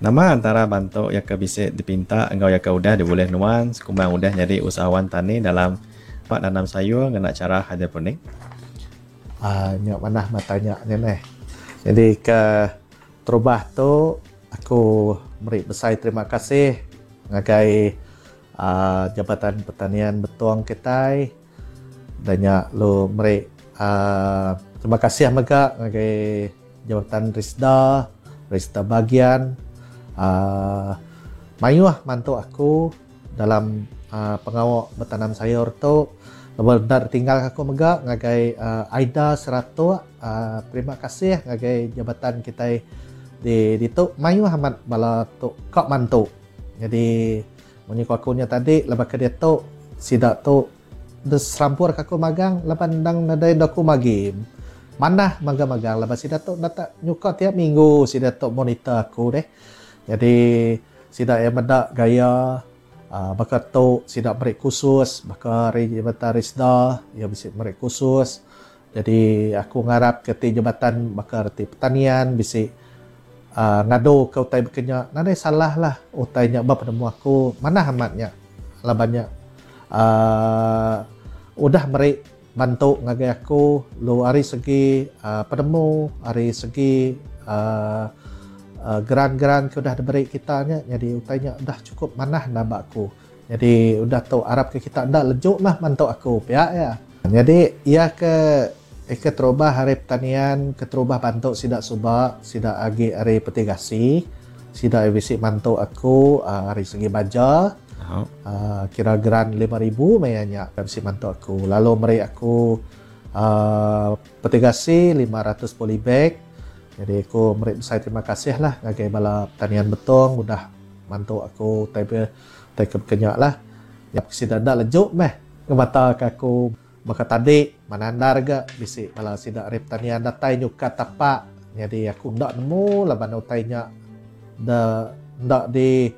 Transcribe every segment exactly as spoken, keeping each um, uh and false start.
Nama antara bantu iya ke bisi dipinta enggau iya ke udah dibulih nuan sekumbang udah nyadi usahawan tani dalam pak nanam sayur ngena chara hidroponik? Uh, nya manah matanya nya neh. Jadi ke terubah tu aku meri besai terima kasih ngagai uh, Jabatan Pertanian Betong kitai dan nya lu meri uh, terima kasih mega ngagai Jabatan Risda, Risda bagian uh, mayuh mantu aku dalam uh, pengawak bertanam sayur tu. Lepas tinggal aku mega ngagai uh, Aida Seratuk, uh, terima kasih ngagai jabatan kita di di tu mayuh amat bala tu kok mantu. Jadi munyi ku aku nya tadi lepas ke dia tu sida tu deserampur ke aku magang laban ndang nadai aku magi. Manah magang-magang lepas sida tu nak nyuka tiap minggu sida tu monitor aku deh. Jadi sida yang medak gaya uh, baka tu sida beri khusus baka hari jabatan Risda ya bisi beri khusus. Jadi aku ngarap ke ti jabatan baka reti pertanian bisi uh, ngadu ke utai bekenya nadai salah lah utai nya ba penemu aku manah amatnya labannya uh, udah meri bantu ngagai aku lu ari segi uh, penemu ari segi uh, uh, geran-geran ke udah diberi kita nya jadi utainya udah cukup manah nambah aku. Jadi udah tu arap ke kita ndak lejuk lah mantu aku pihak ya. Jadi ia ke ke terubah hari pertanian ke terubah bantu sidak subak sidak agi hari petigasi sidak bisi mantu aku uh, hari segi baja. Oh. Uh, kira geran lima ribu mayanya bisi mantu aku. Lalu meri aku uh, petigasi lima ratus polybag. Jadi aku meri besai terima kasih lah ngagai bala pertanian Betong udah mantu aku tai tai ke kenyak lah. Ya sida dak lejuk meh ngemata ke aku baka tadi manandar ga bisi bala sida ari pertanian datai nyukat tapak. Jadi aku ndak nemu laban utai nya da ndak di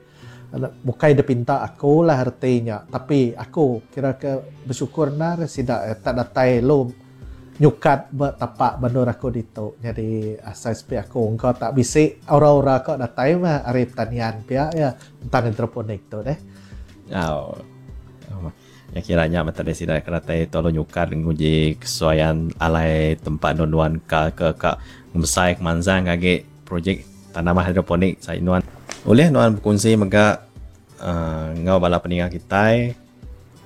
bukai dia pinta aku lah artinya, tapi aku kira ke bersyukur nar sida eh, tak datai lu nyukat tapak bandur aku ditu. Jadi asal sepi aku engkau tak bisi aura-aura kau datai mah ari pertanian pihak ya tentang hidroponik tu deh. Oh. Oh. Ya kiranya mata dia sida kena tai tolong nyukat nguji kesesuaian alai tempat nuan ka ke ka besai kemanzang kage projek tanaman hidroponik saya nuan. Boleh nuan berkongsi mega uh, ngau bala peningat kita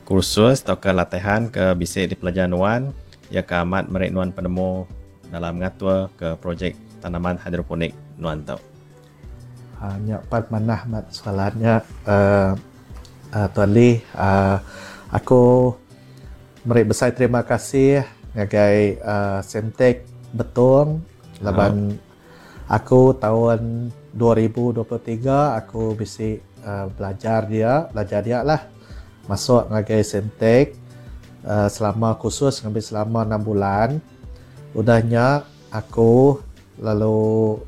kursus atau ke latihan ke bisa dipelajar nuan ya ke amat merek nuan penemu dalam ngatur ke projek tanaman hidroponik nuan tau. Hanya pat manah mat soalannya uh, uh, Tuan Lee, uh, aku meri besai terima kasih ngagai uh, Semtek Betong laban oh. Aku tahun dua ribu dua puluh tiga aku bisi uh, belajar dia, belajar dia lah masuk ngagai Semtek uh, selama kursus ngambil selama enam bulan. Udahnya aku lalu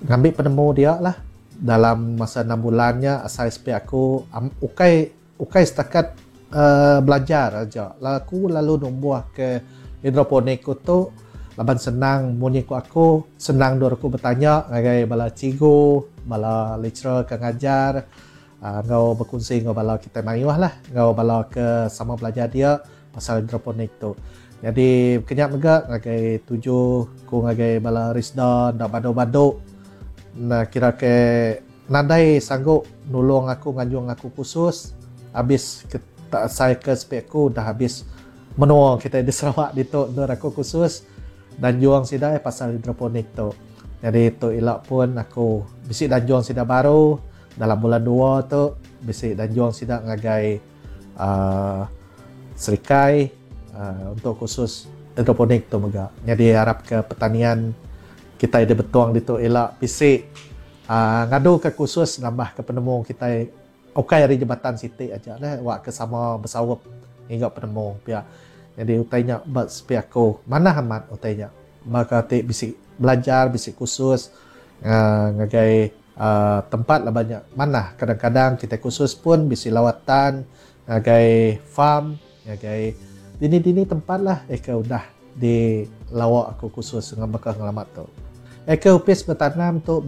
ngambil penemu dia lah dalam masa enam bulannya asal S P aku um, ukai ukai setakat uh, belajar aja. Aku lalu numbuh ke hidroponik tu laban senang munyi ku aku senang dur aku bertanya ngagai bala cikgu, bala lecturer ke ngajar, uh, ngau berkongsi ngau bala kita mayuh lah, ngau bala ke sama belajar dia pasal hidroponik tu. Jadi kenyak mega ngagai tujuh ku ngagai bala Risda ndak badu-badu. Nah kira ke nadai sanggup nulung aku nganjung aku khusus habis ke, tak saya ke spek aku dah habis menua kita di Sarawak ditu dur aku khusus dan juang sida eh, pasal hidroponik tu. Jadi tu ilak pun aku bisi dan juang sida baru dalam bulan dua tu bisi dan juang sida ngagai, uh, Serikai, uh, untuk khusus hidroponik tu mega. Jadi harap ke pertanian kita di Betong ditu ilak bisi, uh, ngadu ke khusus nambah ke penemu kita ukai ari jabatan siti aja lah wak ke sama bersawap hingga penemu pihak. Jadi utainya buat sepi aku mana amat utainya maka ti bisi belajar bisi khusus, uh, ngagai, uh, tempat lah banyak mana kadang-kadang kita khusus pun bisi lawatan ngagai farm ngagai dini-dini tempat lah eka udah di lawak aku khusus dengan bakal ngelamat tu. Eka upis bertanam tu